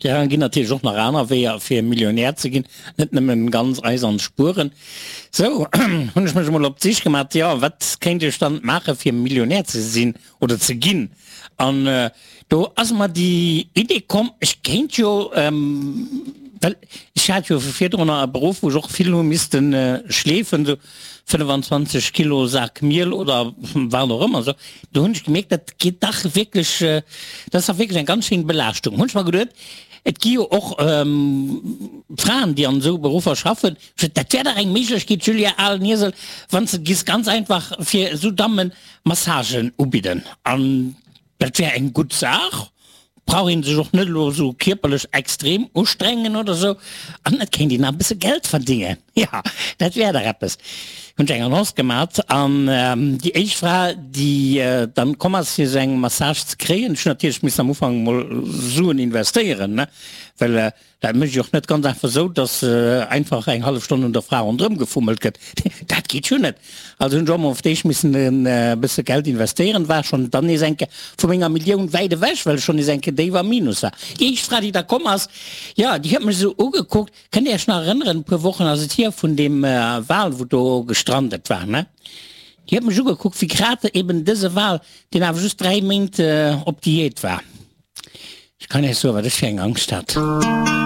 Ja, ginn natierlech och nach aner Weeër fir Millionär ze ginn, net nëmmen ganz eisern spueren. Sou hunn ech mech emol op d'Sich gemat, jo wat kéint ech dann maache fir Millionär ze sinn oder ze ginn? An do ass mer déi Idee komm, ech kéint jo, well ech hat jo virdrunner e Beruff wou ech och vill hu missten schleefen, sou 25 Kilo Sak Miel oder wat och ëmmer esou, do hunn ech gemierkt, dat geet dach wierklech, dat ass dach wierklech eng ganz schéin Belaaschtung. Hunn ech mer geduet, et gi jo och Fraen, déi an esou Beruffer schaffen, dat wär dach eng Méiglechkeet, Julia, alen Iesel, wann s de giss ganz einfach fir esou Dammen Massagen ubidden. An Dat wär eng gutt Saach, brauch een sech och net elo esou kierperlech extrem ustrengen oder esou an et kéint een nach e bësse Geld verdingen. Jo, dat wär dach eppes. Hunn ech eng Annonce gemat an déi éischt Fra, déi dann komm ass fir esou eng Massage ze kréien, ech hunn natierlech missen am Ufank emol Suen investéieren, ne, well Dat mécht ee och net ganz einfach esou, dass einfach eng hallef Stonn un der Fra ronderëm gefummelt gëtt. Dat geet jo net. Also hunn ech och mol op d'éischt missen e bësse Geld investéieren, war schonn dann nees eng Kéier vu menger Millioun wäit ewech, well ech schonn nees eng Kéier déif am Minus war. Déi éischt Fra, déi da komm ass, jo, déi huet mech esou ugekuckt. Kënnt Dir Iech nach erënneren, e puer Wochen ass et hier, vun deem Wal, wou do gestrandet war, ne? Déi huet mech ugekuckt wéi grad eben dëse Wal, deen awer just 3 Méint op Diät war. Ech kann Iech soen, wat ech fir eng Angscht hat.